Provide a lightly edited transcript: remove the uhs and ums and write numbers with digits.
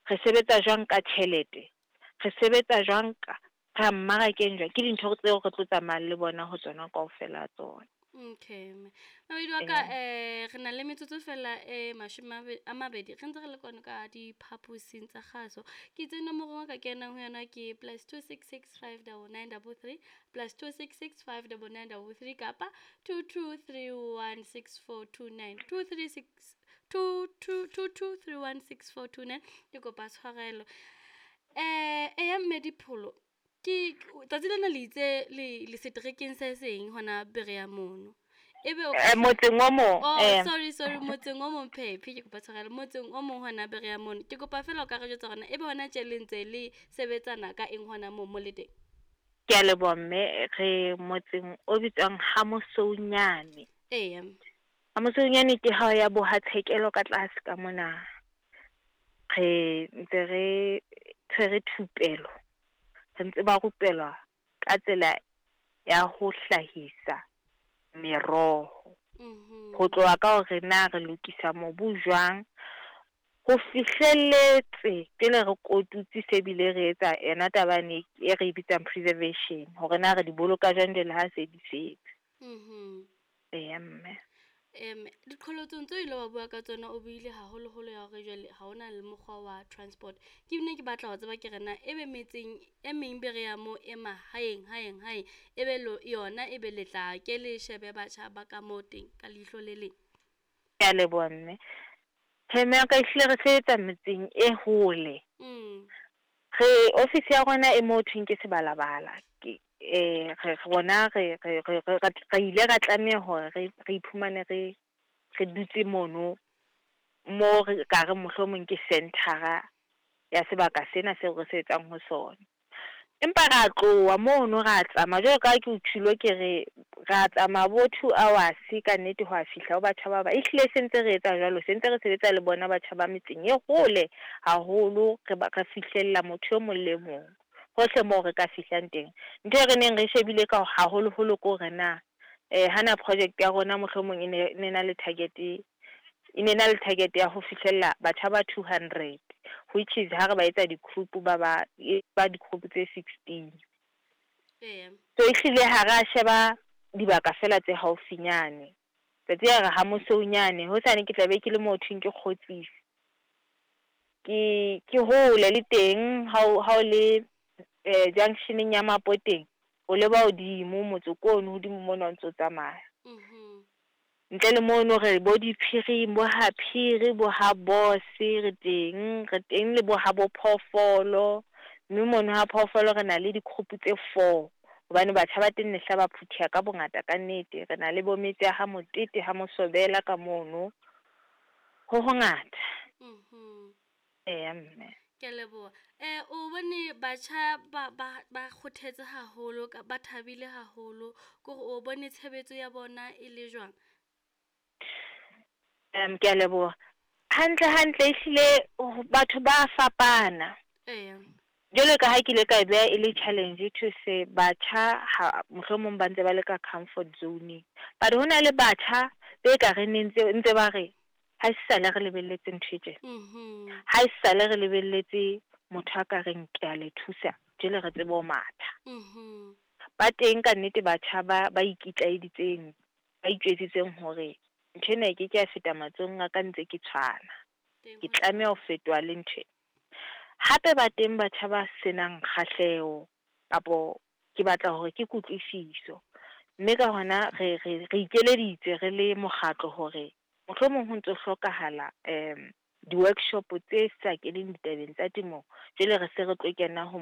Re sebetsa jwang ka tjhelete? Re sebetsa jwang ka ra mmarakeng jwang? Ke dintho tseo re tlo tsamayang le bona ho tsona kaofela tsona. Okay mme. Mabedi wa ka re na le metsotso fela e mashome a mabedi re ntse re le kwano ka diphaposing tsa kgaso. Ke itse nomoro ka kenang ho yona ke +266 599 33, +266 599 33 kapa 22316429, 236 22 22316429. Ke kopa tshwarelo. Eya mme Dipholo, ke tsatsi lena le itse le seterekeng se seng hona Berea mono. Ebe o Motseng o mong. Oh, sorry, sorry, motseng o mong, phephi, ke kopa tshwarelo, motseng o mong hona Berea mono. Ke kopa fela o ka re jwetsa hore na ebe hona tje le ntse le sebetsana ka eng hona moo mo le teng? Ke a leboha mme. Re motseng o bitswang Hamosounyane. Hamosounyane ke ha ya bo ha Tshekelo ka tlase ka mona. Re ntse re tshwere thupelo. Re ntse ba rupelwa ka tsela ya ho hlahisa meroho. Ho tloha ka hore na re lokisa mobu jwang, ho fihlelletse pele re kotutse se bile re etsa yona taba yane e re bitsang preservation, hore na re di boloka jwang jwale ha se di setse. Eya mme. Diqholotsong tseo ile wa bua ka tsona, o buile haholoholo ya hore jwale ha hona le mokgwa wa transport. Ke ne ke batla ho tseba ke re na ebe metseng e meng Berea moo e mahaeng haeng haeng, ebe lo yona ebe le tla ke le shebe batjha ba ka moo teng ka leihlo le leng? Ke a leboha mme. Tjhe mme wa ka, ehlile re sebetsa metseng e hole. Re office ya rona e mo thweng ke Sebalabala. Ke re rona re ile ra tlameha hore re iphumane re dutse mono mo re ka re mohlomong ke center ya sebaka sena seo re sebetsang ho sona. Empa ra tloha mono, ra tsamaya jwalo ka ha ke o tjholo, ke re ra tsamaya bo 2 hours ka nnete ho a fihla ho batjha ba ba. Ehlile se ntse re etsa jwalo, se ntse re sebetsa le bona batjha ba metseng e hole haholo, re ba re fihlella motho e mong le mong hohle moo re ka fihlang teng. Ntho e re neng re shebile ka haholoholo ke hore na hana project ya rona mohlomong e ne na le target, e ne na le target ya ho fihlella batjha ba 200, which is ha re ba etsa di-group ba e ba di-group tse 16. So ehlile ha ra sheba dibaka fela tse haufinyane. Tsatsi ya re ha Mosounyane, hosane ke tla be ke le mo thweng ke Kgotsisi. Ke hole le teng ha o le junctioneng ya Mapoteng, o leba hodimo motse ko ono hodimo mona o ntso tsamaya. Ntle le mono re bo diphiring, bo ha Phiri, bo ha Boss, re teng, re teng le bo ha bo Phoofolo, mme mono ha Phoofolo re na le di-group tse four hobane batjha ba teng ne hla ba phutheha ka bongata ka nnete. Re na le bo metse ya ha Motete, ha Mosobela ka mono. Ho hongata. Eya mme. Ke a leboha. O bone batjha ba kgothetse haholo, ba thabile haholo, ke hore o bone tshebetso ya bona e le jwang? Ke a leboha. Hantle hantle ehlile batho ba fapana. Jwalo ka ha ke ile ka e beha e le challenge to say batjha ha mohlomong ba ntse ba le ka comfort zone-eng. But ho na le batjha be ka re ne ntse ba re ha e sale re lebelletse ntho e tjena. Ha e sale re lebelletse motho a ka reng ke a le thusa, jwale re tsebe ho matha. Ba teng ka nnete batjha ba ikitlaeditseng, ba itjwetsitseng hore ntho ena e ke ke ya feta matsohong a ka ntse ke tshwana. Teng Ke tlameha ho fetoha le ntho ena. Hape ba teng batjha ba senang kgahleho kapo ke batla hore ke kutlwisiso. Mme ka hona re ikeleditse re le mokgatlo hore mohlomong ho ntso hlokahala di-workshop tse sa keneng ditabeng tsa temo, jwale re se re tlo kena ho.